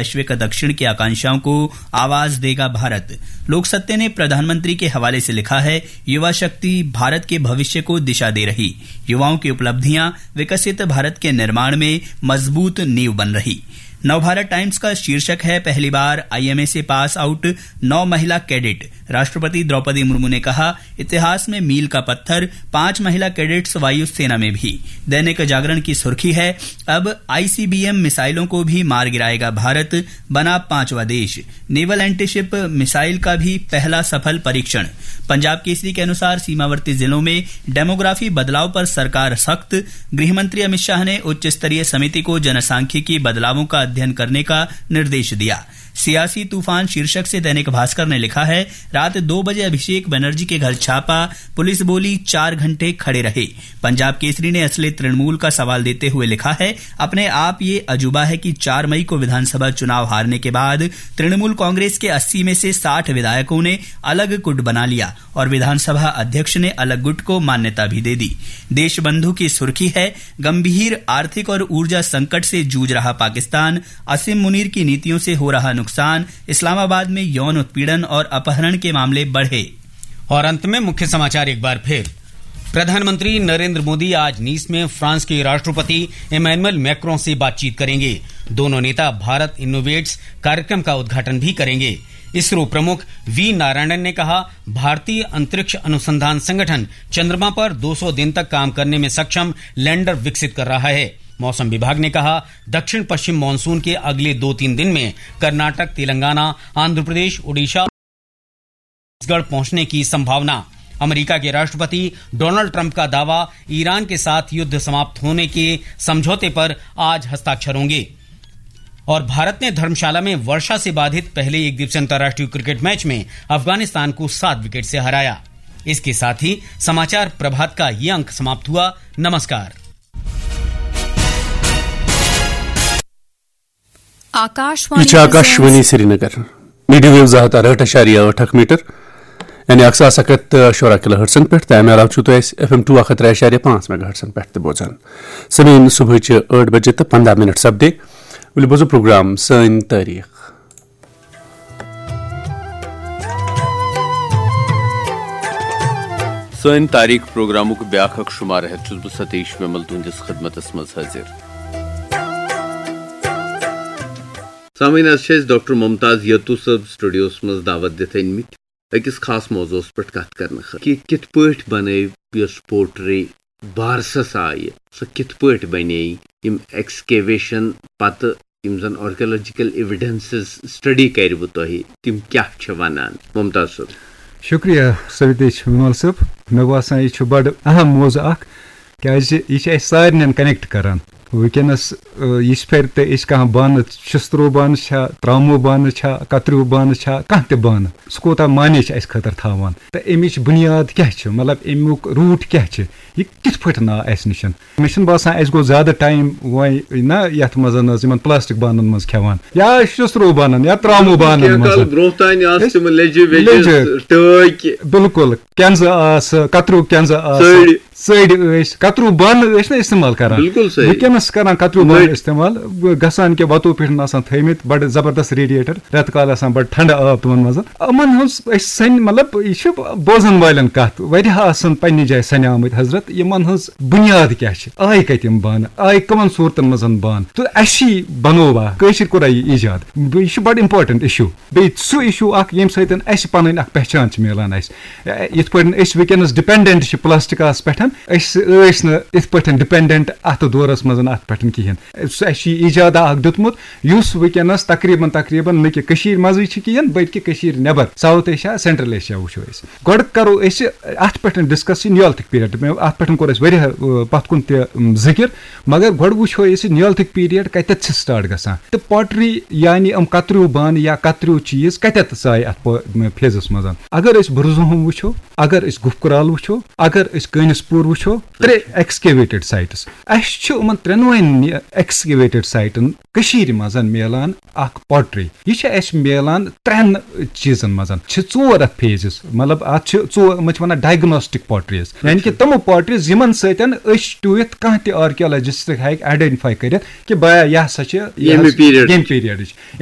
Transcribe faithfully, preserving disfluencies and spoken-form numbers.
वैश्विक दक्षिण की आकांक्षाओं को आवाज देगा भारत। लोक सत्य ने प्रधानमंत्री के हवाले से लिखा है, युवा शक्ति भारत के भविष्य को दिशा दे रही, युवाओं की उपलब्धियां विकसित भारत के निर्माण में मजबूत नींव बन रही। नवभारत टाइम्स का शीर्षक है, पहली बार आईएमए से पास आउट नौ महिला कैडेट। राष्ट्रपति द्रौपदी मुर्मू ने कहा, इतिहास में मील का पत्थर, पांच महिला कैडेट्स वायुसेना में भी। दैनिक जागरण की सुर्खी है, अब आईसीबीएम मिसाइलों को भी मार गिराएगा भारत, बना पांचवा देश। नेवल एंटीशिप मिसाइल का भी पहला सफल परीक्षण। पंजाब केसरी के अनुसार सीमावर्ती जिलों में डेमोग्राफी बदलाव पर सरकार सख्त। गृह मंत्री अमित शाह ने उच्च स्तरीय समिति को जनसांख्यिकी बदलावों का अध्ययन करने का निर्देश दिया। सियासी तूफान शीर्षक से दैनिक भास्कर ने लिखा है, रात दो बजे अभिषेक बनर्जी के घर छापा, पुलिस बोली, चार घंटे खड़े रहे। पंजाब केसरी ने असली तृणमूल का सवाल देते हुए लिखा है, अपने आप ये अजूबा है कि चार मई को विधानसभा चुनाव हारने के बाद तृणमूल कांग्रेस के अस्सी में से साठ विधायकों ने अलग गुट बना लिया और विधानसभा अध्यक्ष ने अलग गुट को मान्यता भी दे दी। देशबंधु की सुर्खी है, गंभीर आर्थिक और ऊर्जा संकट से जूझ रहा पाकिस्तान, असीम मुनीर की नीतियों से हो रहा नुकसान, इस्लामाबाद में यौन उत्पीड़न और अपहरण के मामले बढ़े। और अंत में मुख्य समाचार एक बार फिर। प्रधानमंत्री नरेंद्र मोदी आज नीस में फ्रांस के राष्ट्रपति इमैनुअल मैक्रों से बातचीत करेंगे। दोनों नेता भारत इनोवेट्स कार्यक्रम का उद्घाटन भी करेंगे। इसरो प्रमुख वी नारायणन ने कहा, भारतीय अंतरिक्ष अनुसंधान संगठन चंद्रमा पर दो सौ दिन तक काम करने में सक्षम लैंडर विकसित कर रहा है। मौसम विभाग ने कहा, दक्षिण पश्चिम मानसून के अगले दो तीन दिन में कर्नाटक, तेलंगाना, आंध्र प्रदेश, ओडिशा, छत्तीसगढ़ पहुंचने की संभावना। अमेरिका के राष्ट्रपति डोनाल्ड ट्रंप का दावा, ईरान के साथ युद्ध समाप्त होने के समझौते पर आज हस्ताक्षर होंगे। और भारत ने धर्मशाला में वर्षा से बाधित पहले एक दिवसीय अंतर्राष्ट्रीय क्रिकेट मैच में अफगानिस्तान को सात विकेट से हराया। इसके साथ ही समाचार प्रभात का ये अंक समाप्त हुआ। नमस्कार। आकाशवाणी ये छा आकाशवाणी श्रीनगर। मीडियम वेव ज़ाहत ٲٹھ اعشاریہ ٲٹھ میٹر، یعنی اکھ ساس اکھ ہتھ تہٕ شُراہ کلو ہرٹزن پٮ۪ٹھ، تہٕ امہِ علاوٕ چھُو تُہۍ اسہِ ایف ایم ٹو اکھ ہتھ ترٛےٚ اعشاریہ پانٛژھ میگا ہرٹزن پٮ۪ٹھ تہِ بوزان۔ سمیٖن، صبحٕچہِ ٲٹھ بجے تہٕ پنٛداہ منٹ سپدے۔ ؤلِو بوزو پروگرام سٲنۍ تٲریٖخ۔ سٲنۍ تاریخ پروگرامُک بیٛاکھ اکھ شمارٕ ہٮ۪تھ چھُس بہٕ ستیش ومل تُہنٛدِس خدمتس منٛز حٲضِر۔ سامعین، از چھِ أسۍ ڈاکٹر ممتاز یتو صٲب سٹوڈیوس منٛز دعوت دِتھ أنمٕتۍ أکِس خاص موضوعس پٮ۪ٹھ کتھ کرنہٕ خٲطرٕ کہِ کِتھ پٲٹھۍ بنٲو یۄس پوٹری بارسس آیہِ، سۄ کِتھ پٲٹھۍ بنے، یِم ایکسکیویشن پتہٕ یِم زن آرکیولوجیکل ایویڈنسز سٹڈی کرِوٕ تۄہہِ، تِم کیٛاہ چھِ ونان؟ ممتاز صٲب۔ شُکریہ سویتیش وِمل صٲب۔ مےٚ باسان، یہِ چھُ بڑٕ اہم موضوع اکھ، کیازِ یہِ چھُ اَسہِ سارنٕے کنیکٹ کران۔ وٕنکیٚنس، آ، یِژھ پھِرِ تہِ أسۍ کانٛہہ بانہٕ، شسترو بانہٕ چھا، ترامو بانہٕ چھا، کتریو بانہٕ چھا، کانٛہہ تہِ بانہٕ، سُہ کوٗتاہ معنی چھُ اَسہِ خٲطرٕ تھاوان تہٕ اَمِچ بُنیاد کیٛاہ چھِ، مطلب، اَمیُک روٗٹ کیٛاہ چھِ، یہِ کِتھ پٲٹھۍ آو اَسہِ نِش؟ مےٚ چھُنہٕ باسان اَسہِ گوٚو زیادٕ ٹایم وۄنۍ نہ یَتھ منٛز، نہ حظ، یِمن پلاسٹک بانن منٛز کھٮ۪وان یا شسترو بانن یا ترامو بانن کینٛہہ منٛز۔ کال برونٛہہ تانۍ آسہٕ أسۍ تِم لیٚجہِ ویٚجہِ، لیٚجہِ۔ ٹٲکۍ۔ بِلکُل، کینزٕ آسہٕ، کتریو کینزٕ آسہٕ، ژٔڑۍ۔ ژٔڑۍ ٲسۍ، کتریو بانہٕ ٲسۍ نہٕ استعمال کران۔ بِلکُل صحیح۔ وٕنکیٚنس چھِ کران کتریو بانہٕ نٔٹۍ۔ استعمال، گژھان کہِ وتو پٮ۪ٹھ آسان تھٲیمٕتۍ بڑٕ زبردست ریڈیٹر، رٮ۪تہٕ کالہٕ آسان بڑٕ ٹھنڈٕ آب تِمن منٛز۔ یِمن ہٕنٛز أسۍ سَنہِ، مطلب، یہِ چھِ بوزن والٮ۪ن کتھ، واریاہ آسن پننہِ جایہِ سَنہِ آمٕتۍ حضرت، یِمن ہٕنٛز بُنیاد کیٛاہ چھِ، آیہِ کتہِ یِم بانہٕ، آیہِ کٕمن صوٗرتن منٛز بانہٕ؟ تہٕ اَسہِ چھِ بنووا، کٲشِر کوٚرا یہِ ایجاد؟ یہِ چھُ بڑٕ important issue۔ بیٚیہِ سُہ issue اکھ، ییٚمہِ سۭتۍ اَسہِ پنٕنۍ اکھ پہچان چھِ میلان اَسہِ۔ یِتھ پٲٹھۍ أسۍ وٕنکیٚنس dependent چھِ پلاسٹکس پٮ۪ٹھ، أسۍ ٲسۍ نہٕ یِتھ پٲٹھۍ dependent اتھ دورس منٛز اتھ پٮ۪ٹھ کِہینۍ۔ سُہ، اَسہِ چھُ یہِ ایجادا اکھ دیُتمُت، یُس وٕنکیٚنس تقریباً، تقریباً نہ کہِ کٔشیٖر منٛزٕے چھُ کِہینۍ، بلکہِ کٔشیٖر نٮ۪بر، South Asia، Central Asia وٕچھو أسۍ۔ گۄڈٕ کرو أسۍ اتھ پٮ۪ٹھ discuss یہِ Neolithic period۔ مےٚ اتھ پٮ۪ٹھ کوٚر اَسہِ واریاہ، آ، پتھ کُن تہِ، م، ذِکر، مگر گۄڈٕ وٕچھو أسۍ یہِ Neolithic period کتٮ۪تھ چھِ start گژھان تہٕ pottery، یعنی یِم کتریو بانہٕ یا کتریو چیٖز کتٮ۪تھ ژایہِ اتھ پو-، م، phaseس منٛز۔ اگر أسۍ برزُہوم وٕچھو، اگر أسۍ گُپھ کرال وٕچھو، اگر أسۍ کٲنِس پوٗر وٕچھو، ترٛےٚ excavated sites۔ اَسہِ چھِ یِمن ترٛٮ۪نوَے excavated siteن کٔشیٖرِ منٛز میلان اکھ pottery۔ یہِ چھِ اَسہِ میلان ترٛٮ۪ن چیٖزن منٛز۔ چھِ ژور اتھ phases، مطلب، اتھ چھِ ژور، یِمن چھِ ونان diagnostic potteries، یعنی کہِ اچھا۔ تِمہٕ potteries یِمن سۭتۍ أسۍ ٹُوِتھ کانٛہہ تہِ archaeologist ہیٚکہِ identify کٔرِتھ کہِ بیا، یہِ ہسا چھِ، یہِ ییٚمہِ حظ، period۔ ییٚمہِ periodٕچ۔